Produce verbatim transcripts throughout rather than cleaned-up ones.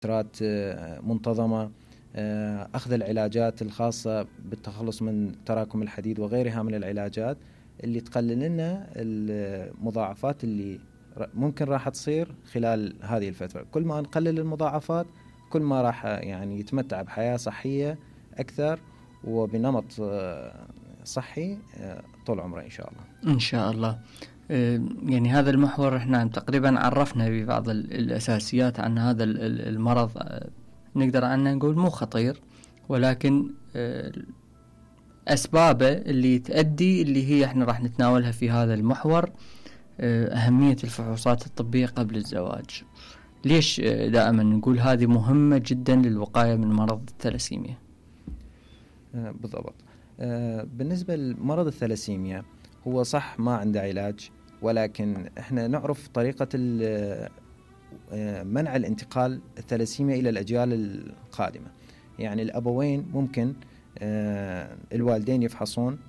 فترات منتظمة، أخذ العلاجات الخاصة بالتخلص من تراكم الحديد وغيرها من العلاجات اللي تقلل لنا المضاعفات اللي ممكن راح تصير خلال هذه الفترة. كل ما نقلل المضاعفات كل ما راح يعني يتمتع بحياة صحية أكثر وبنمط صحي طول عمره إن شاء الله. إن شاء الله. يعني هذا المحور احنا تقريبا عرفنا ببعض الأساسيات عن هذا المرض، نقدر عنه نقول مو خطير، ولكن أسبابه اللي تؤدي اللي هي احنا راح نتناولها في هذا المحور. أهمية الفحوصات الطبية قبل الزواج، ليش دائما نقول هذه مهمة جدا للوقاية من مرض الثلاسيميا؟ بالضبط. بالنسبة لمرض الثلاسيميا هو صح ما عنده علاج، ولكن احنا نعرف طريقة منع الانتقال الثلاسيميا إلى الأجيال القادمة. يعني الأبوين ممكن الوالدين يفحصون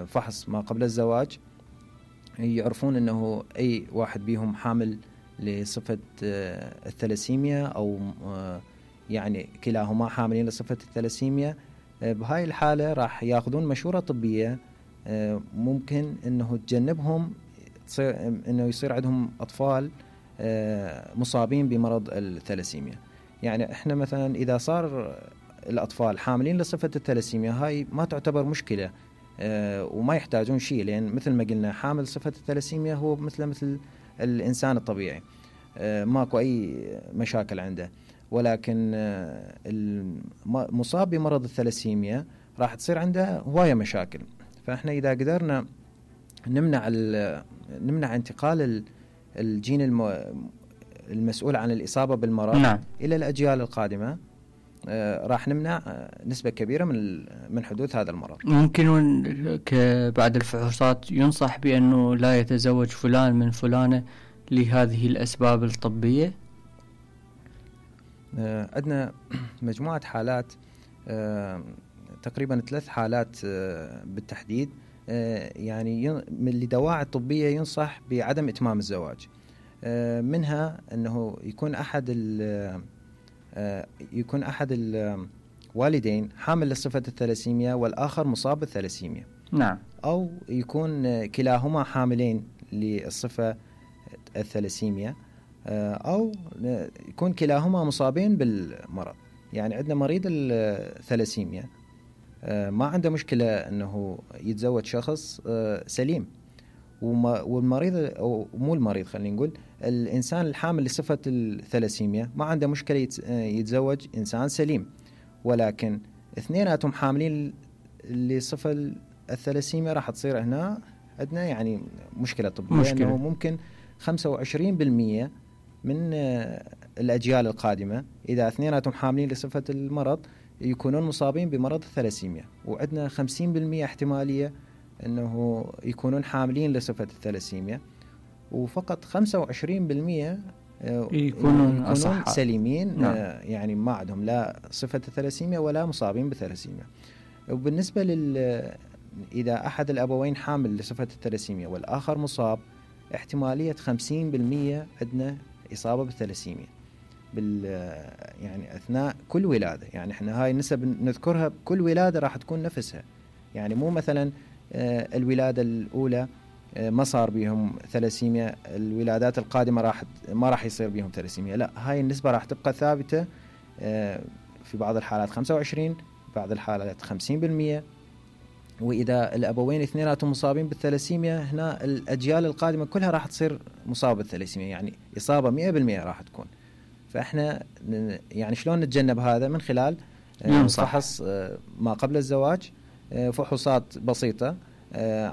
فحص ما قبل الزواج، يعرفون أنه أي واحد بيهم حامل لصفة الثلاسيميا أو يعني كلاهما حاملين لصفة الثلاسيميا. بهاي الحالة راح ياخذون مشورة طبية ممكن أنه تجنبهم أنه يصير عندهم أطفال مصابين بمرض الثلاسيميا. يعني إحنا مثلا إذا صار الأطفال حاملين لصفة الثلاسيميا هاي ما تعتبر مشكلة وما يحتاجون شيء، لأن مثل ما قلنا حامل صفة الثلاسيميا هو مثل مثل الإنسان الطبيعي، ماكو أي مشاكل عنده. ولكن المصاب بمرض الثلاسيميا راح تصير عنده هواية مشاكل. فإحنا إذا قدرنا نمنع نمنع انتقال الجين المسؤول عن الإصابة بالمرض نعم. إلى الأجيال القادمة، راح نمنع نسبة كبيرة من من حدوث هذا المرض. ممكن بعد الفحوصات ينصح بأنه لا يتزوج فلان من فلانة لهذه الأسباب الطبية؟ عندنا مجموعة حالات، تقريبا ثلاث حالات بالتحديد، يعني لدواعي طبية ينصح بعدم إتمام الزواج. منها أنه يكون أحد يكون أحد الوالدين حامل لصفة الثلاسيميا والآخر مصاب بالثلاسيميا. نعم. أو يكون كلاهما حاملين للصفة الثلاسيميا، أو يكون كلاهما مصابين بالمرض. يعني عندنا مريض الثلاسيميا ما عنده مشكلة أنه يتزوج شخص سليم، والمريض أو مو المريض خلينا نقول الإنسان الحامل لصفة الثلاسيميا ما عنده مشكلة يتزوج إنسان سليم، ولكن اثنيناتهم حاملين لصفة الثلاسيميا راح تصير هنا عندنا يعني مشكلة طبية، مشكلة. أنه ممكن خمسة وعشرين بالمئة من الأجيال القادمة إذا اثنيناتهم حاملين لصفة المرض يكونون مصابين بمرض الثلاسيميا، وعندنا خمسين بالمئة احتمالية أنه يكونون حاملين لصفة الثلاسيميا، وفقط خمسة وعشرين بالمئة يكونون, يكونون سليمين. نعم. يعني ما عندهم لا صفة الثلاسيميا ولا مصابين بالثلاسيميا. وبالنسبة لل إذا أحد الأبوين حامل لصفة الثلاسيميا والآخر مصاب، احتمالية خمسين بالمئة عندنا إصابة بالثلاسيميا بال يعني أثناء كل ولادة. يعني إحنا هاي النسب نذكرها بكل ولادة راح تكون نفسها، يعني مو مثلا الولادة الأولى ما صار بهم ثلاسيميا الولادات القادمة راح ما راح يصير بهم ثلاسيميا، لا، هاي النسبة راح تبقى ثابتة، في بعض الحالات خمسة وعشرين، بعض الحالات خمسين بالمئة. وإذا الأبوين اثنيناتهم مصابين بالثلاسيميا هنا الأجيال القادمة كلها راح تصير مصابة بالثلاسيميا، يعني إصابة مئة بالمئة راح تكون. فإحنا يعني شلون نتجنب هذا؟ من خلال فحص ما قبل الزواج، فحوصات بسيطة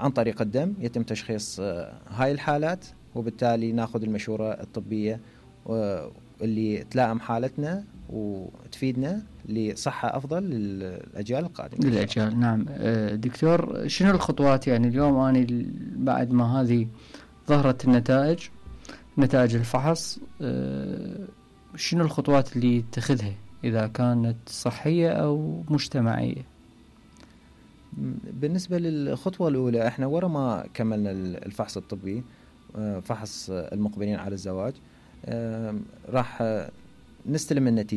عن طريق الدم يتم تشخيص هاي الحالات، وبالتالي ناخذ المشورة الطبية اللي تلائم حالتنا وتفيدنا لصحة أفضل للأجيال القادمة. للأجيال. نعم. دكتور، شنو الخطوات يعني اليوم أنا بعد ما هذه ظهرت النتائج نتائج الفحص، شنو الخطوات اللي تتخذها إذا كانت صحية أو مجتمعية؟ بالنسبة للخطوة الأولى، إحنا ورا ما كملنا الفحص الطبي، فحص المقبلين على الزواج، راح نستلم النتيجة